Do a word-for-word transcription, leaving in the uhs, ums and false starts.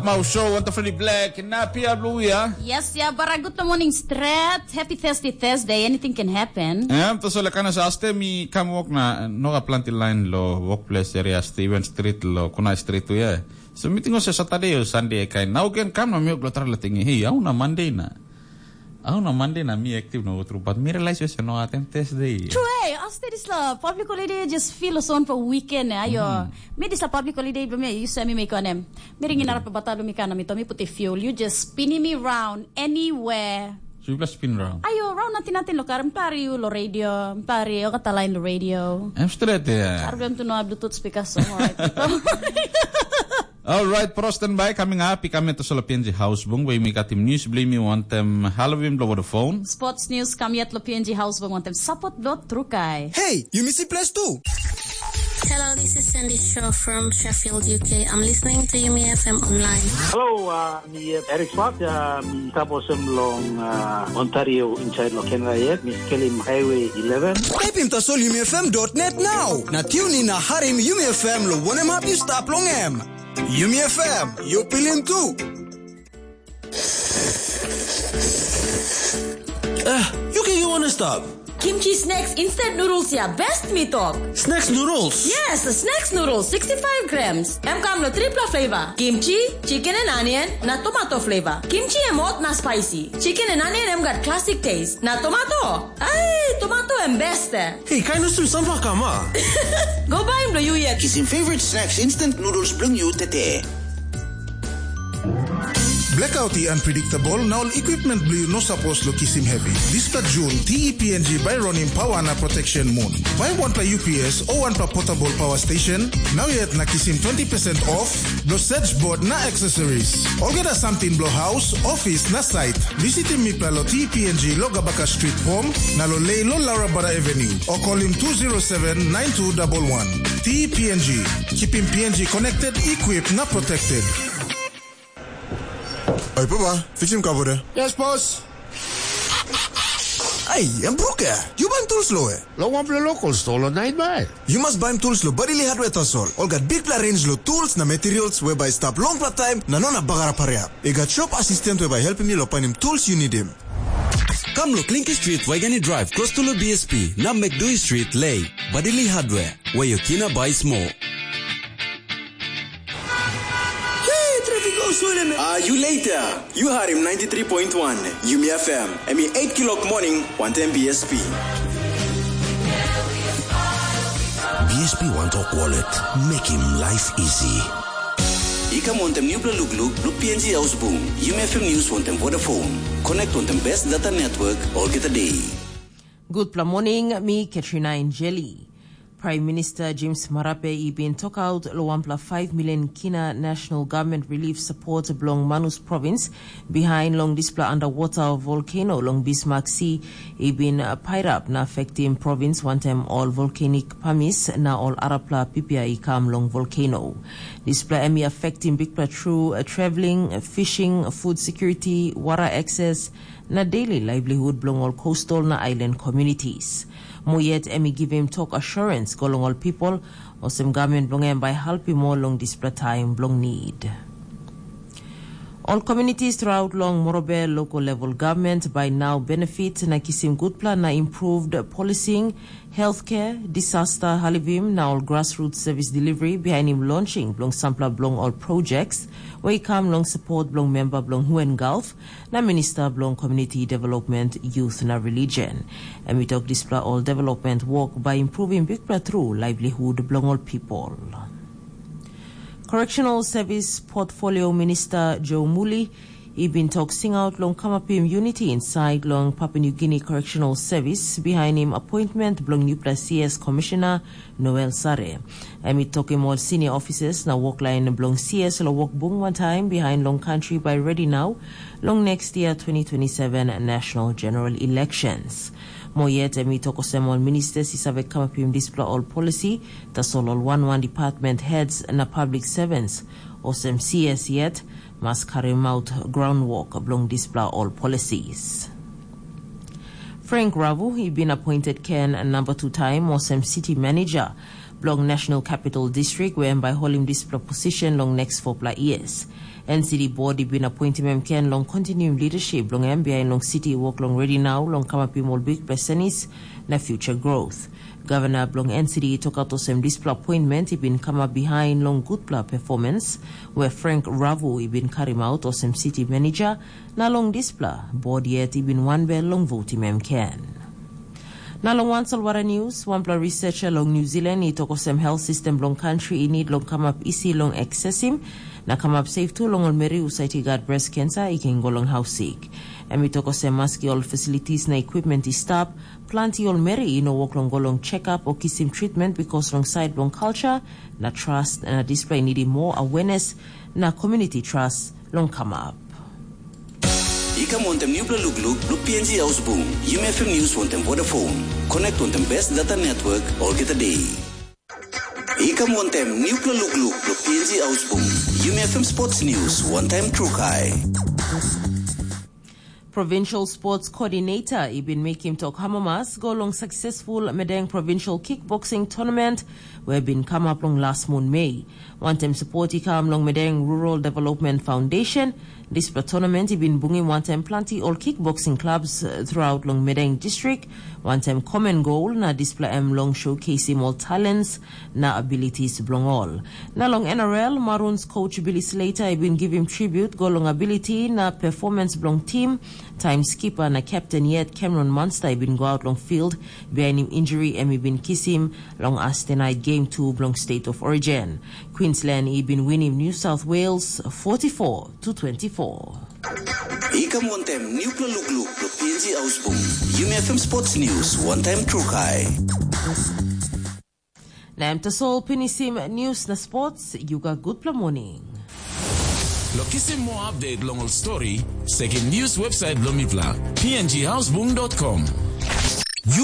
Mau show on the Freddie Black na Pia Blue ya. Yes, ya, bara good morning stret. Happy Thursday, Thursday. Anything can happen. Em, to sole kana sa aste mi kam wok na noga planti line lo workplace area Steven Street lo Kunai Street tu ya. So meeting ose Saturday o Sunday kai. Now again kam na mi wok lo tra la tingi. Hey, au na Monday na. Au na Monday na mi active no tru, but mi realize ose no atem Thursday. True, eh, aste dis la public holiday just feel so on for weekend, eh, ayo. Mi dis la public holiday, but mi, you say mi make on em. Mi ringin arap bata mi kana mi tomi put a fuel. You just spinning me round anywhere. So you just spin round. Ayo, round nothing nothing lo kar, mi pari you lo radio, mi pari o kata line lo radio. I'm straight there. Arap tu no Bluetooth speaker so. Alright, pro standby coming up. I kame to solo P N G House Bung, where mi got him news, blame me one time, Halloween blow the phone. Sports news kam yet lo P N G House Bung, one time support dot trukai. Hey, you miss place too. Hello, this is Sandy Shaw from Sheffield, U K. I'm listening to Yumi F M online. Hello, uh, mi uh, Eric Swart, uh, mi taposem long uh, Ontario inside lo Canada yet. Mi skelim Highway eleven. Type in tasol yumi F M dot net now. Na tune in na harim Yumi F M lo wanem hap you stap long em. Yumi F M, you pilim tu. Ah, you can you wanna stop? Kimchi snacks instant noodles ya best mi tok. Snacks noodles? Yes, snacks noodles sixty-five grams. Em kam lo tripla flavor. Kimchi, chicken and onion, na tomato flavor. Kimchi em hot na spicy. Chicken and onion em gat classic taste. Na tomato? Ai, tomato em best. Hey, kain o sum sampla kam a? Go buy em lo you yet. Kisim favorite snacks instant noodles bring you tete. Blackout i unpredictable na ol equipment bilong yu no sapos lo kisim heavy. Dispela Jun, T E P N G bai ronim pawa na protection mun. Bai wanpela U P S o wanpela portable power station, nau yet na kisim twenty percent off, lo search board na accessories. Olgeta samting blo house, office na site. Visitim mipela lo T P N G lo Gabaka Street Pom, na lo Lei lo Laurabada Avenue, o kolim two zero seven nine two double one. T P N G, keeping P N G connected, equipped na protected. Oi papa, fiksim kabore. Yes boss. Ai, em bruke. You ban tools lo e? Lo wanpela local store lo nine mile. You must buy tools lo Badili Hardware tasol. All got big pla range lo tools na materials whereby stap long pla time na no na bagara paria. I got shop assistant whereby helpim you lo panim tools you need him. Kam lo Klinki Street, Waigani Drive, close to lo B S P, na Mekdui Street, Lei, Badili Hardware, where your kina buy small. Hey, traffic go swell me. Ah, you later. You heard him ninety-three point one, Yumi F M. Emi eight kilok morning, one time B S P. B S P One Talk Wallet. Make him life easy. I kam wantem nupela lukluk blo P N G Haus Bung, Yumi F M News wantem Vodafone. Connect wantem best data network olgeta day. Gutpela morning, mi Katrina Injeli. Prime Minister James Marape i bin tokaut lo wanpela five million kina National Government Relief Support bilong Manus Province, behind long dispela underwater volcano long Bismarck Sea i bin uh, pairap na affectim province wantaim ol volcanic pamis na ol arapela pipia i kam long volcano. Dispela em i affectim bikpela tru uh, traveling, fishing, food security, water access, na daily livelihood bilong ol coastal na island communities. Mo yet em i givim tok assurance go long ol people, olsem government bilong em bai helpim ol long dispela taim bilong need. Ol communities throughout long Morobe local level government by now benefit na kisim gutpela na improved policing, healthcare, disaster halivim na ol grassroots service delivery behind him launching bilong sampela bilong ol projects wey i kam long support bilong member bilong Huen Gulf na Minister bilong Community Development, Youth na Religion. Em i tok dispela ol development work by improving bikpela tru livelihood bilong ol people. Correctional Service Portfolio Minister Joe Muli i bin tok singaut long kamapim unity inside long Papua New Guinea Correctional Service behind him appointment bilong nupela C S Commissioner Noel Sare. Em i tokim ol senior officers na woklain bilong C S lo wokbung wantaim behind long country by ready now long next year twenty twenty-seven national general elections. Mo yet em i tok olsem ol ministers i save kamapim dispela ol policy, tasol ol wan wan department heads na public servants olsem C S yet mas karim out groundwork bilong dispela ol policies. Frank Ravu i bin appointed Ken number two time olsem city manager. bilong National Capital District, where em bai holim dispela position long next four years. N C D board i bin appointim em ken long continuing leadership bilong em behind long city work long ready now long kamapim ol big pesenis na future growth. Governor bilong N C D i tokaut olsem dispela appointment i bin kamap behind long gutpela performance, where Frank Ravu i bin karim out olsem city manager, na long dispela board yet i bin wanbel long votim em ken. Na long wan solwara news, wanpela researcher long New Zealand i tok olsem health system bilong country i need long kamap isi long accessim, na kamap safe tu long ol meri husat i gat breast cancer i ken go long haus sik. Em i tok olsem maski ol facilities na equipment i stap, planti ol meri i no wok long go long check-up o kisim treatment because long side bilong culture na trust, na display nidim more awareness na community trust long kamap. I kam wantem nupela lukluk bilong P N G Ausbung, Yumi F M News wantem Vodafone. Connect wantem best data network olgeta day. I kam wantem nupela lukluk bilong P N G Ausbung, Yumi F M Sports News wantem Trukai. Provincial Sports Coordinator i bin mekim tok amamas go long successful Medeng Provincial Kickboxing Tournament we bin kamap long las mun Mei. Wantem support i kam long Medeng Rural Development Foundation, dispela tournament i bin bungim wantem planti ol kickboxing clubs uh, throughout long Medeng District, wantem common goal na dispela em long showcasing ol talents na abilities bilong ol. Na long N R L, Maroons coach Billy Slater i bin givim tribute go long ability na performance bilong team, time skipper na captain yet Cameron Munster i bin go out long field bihainim injury em i bin kisim long Thursday night game two bilong State of Origin. Queensland i bin winim New South Wales forty-four to twenty-four. I kam wantem nupela lukluk bilong P N G Ausbung, Yumi F M Sports News wantem Trukai. Na em tasol pinisim news na sports, you got gutpela morning. Lo kisim more update long ol story, sekim news website bilong mipela, P N G Ausbung dot com.